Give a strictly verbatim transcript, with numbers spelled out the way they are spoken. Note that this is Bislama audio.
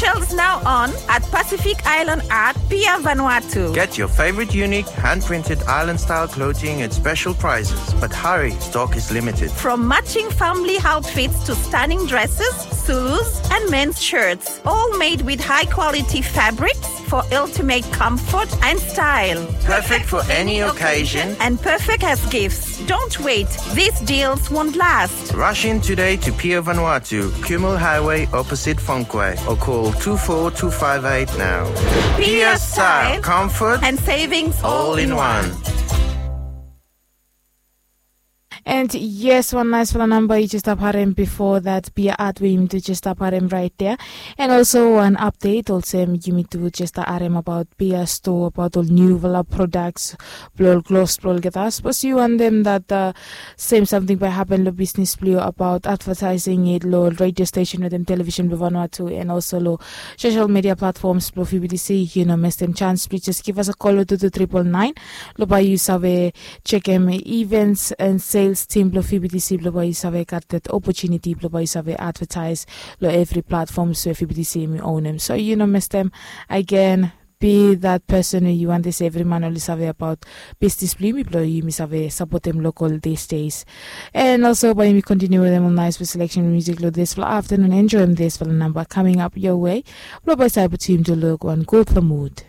Sales now on at Pacific Island Art, Pier Vanuatu. Get your favorite unique hand-printed island-style clothing at special prices, but hurry, stock is limited. From matching family outfits to stunning dresses, Zulus, and men's shirts, all made with high-quality fabrics for ultimate comfort and style. Perfect for any occasion and perfect as gifts. Don't wait, these deals won't last. Rush in today to Pier Vanuatu, Kumul Highway, opposite Fonquay, or call two four two five eight now. Pier style, comfort, and savings all in one. And yes, wan naisfala namba yu jes stap harem bifo dat, Pier Art we yumi tu jes stap harem right there. And also wan update olsem yumi tu jes stap harem about Pier Store, about ol niufala products blong ol klos blong olgeta. Sapos yu wantem dat, uh, sem samting bae hapen long bisnis blong yu about advertising it long radio station wetem television blong Vanuatu, and also long social media platforms blong V B T C, yu no mestem chance, plis jes give us a call long two two triple nine. Long bae yu save chekem events and sales team blong V B T C blong bae yu save gat that opportunity blong bae yu save advertise long evri platforms we V B T C yumi ownem. So yu no mestem, again, be that person we yu wantem se evri man oli save about bisnis blong yumi, blong yumi save sapotem local these days. And also bae yumi continue wetem ol naisfala selection music long disfala afternoon. Enjoyem disfala namba coming up your way blong bae save putum yu long wan gudfala mood.